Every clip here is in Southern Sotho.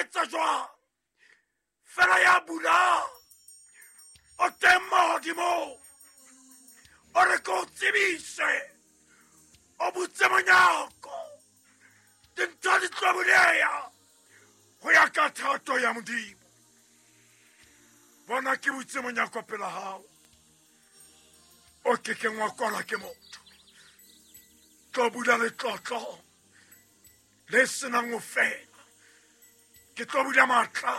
etsa jwang fela ya bulang o teng mahodimong o re ke o tsebise o butse monyako dintho di tlo buleya go ya ka thato ya modimo bona ke butse monyako pela gago o ke keng wa kwalwa ke motho tlo bula letlotlo le senang go fela ke tlo bula maatla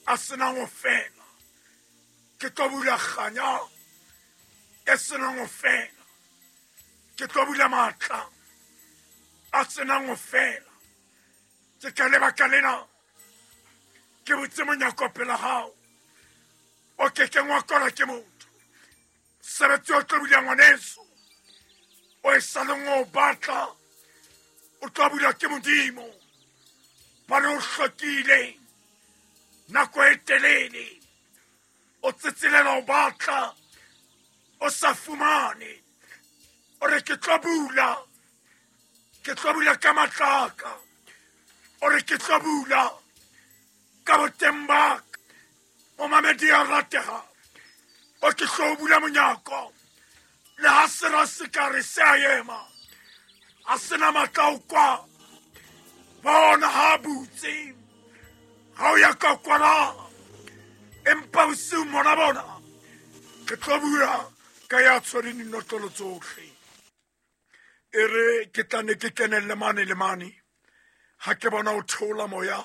a senang go fela ke tlo bula kganya e senang go fela ke tlo bula maatla a senang go fela ke ka lebaka lena ke botse monyako pela gago o ke keng wa kwalwa ke motho sebetsi o tlo bula ngwaneso o e sa leng o batla o tlo bula ke modimo bane o hlokile nako e telele o tsetselela o batla o sa fumane o re ke tlo bula ke tlo bula ka matlaka o re ke tlo bula ka boteng baka momamedi ya ratega o ke tlo bula monyako le ha sera se ka re se a ema a sena matla o kwa bona ha butse ga o ya ka kwana empa bosiu mona bona ke tlo bula ka ya tshwereng dinotlolo tsotlhe e re ke tla ne ke kenelle mane le mane ga ke bona o theola moya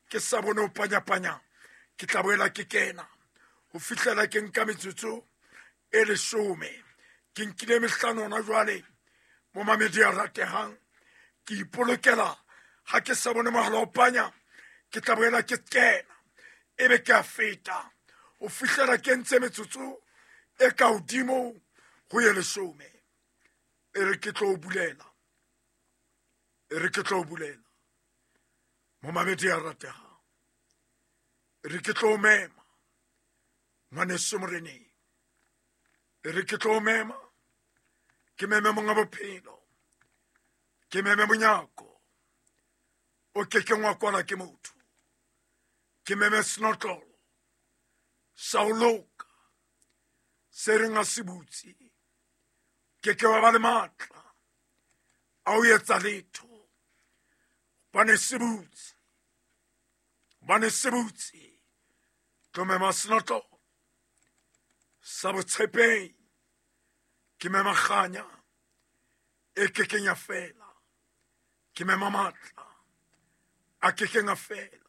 ke sa bone o panyapanya ke tla boela ke kena go fihlela ke nka metsotso e lesome ke nkile mehlano ona jwale mo mamedi a rategang ke ipolokela ga ke sa bone mogala o panya ke tla boela ke kena e be ke a feta go fihlela ke ntse metsotso e ka godimo go ye lesome e re ke tlo bulela e re ke tlo bulela momamedi a rategang e re ke tlo mema ngwaneso moreneng e re ke tlo mema ke meme monga bophelo ke meme monyako o ke keng wa kwala ke motho ke meme senotlolo sa o loka se reng a se butse ke ke wa ba le maatla a o etsa letho bane se butse bane se butse tlo mema senotlolo sa botshepehi ke mema kganya e kekeng ya fela ke mema maatla a kekeng a fela.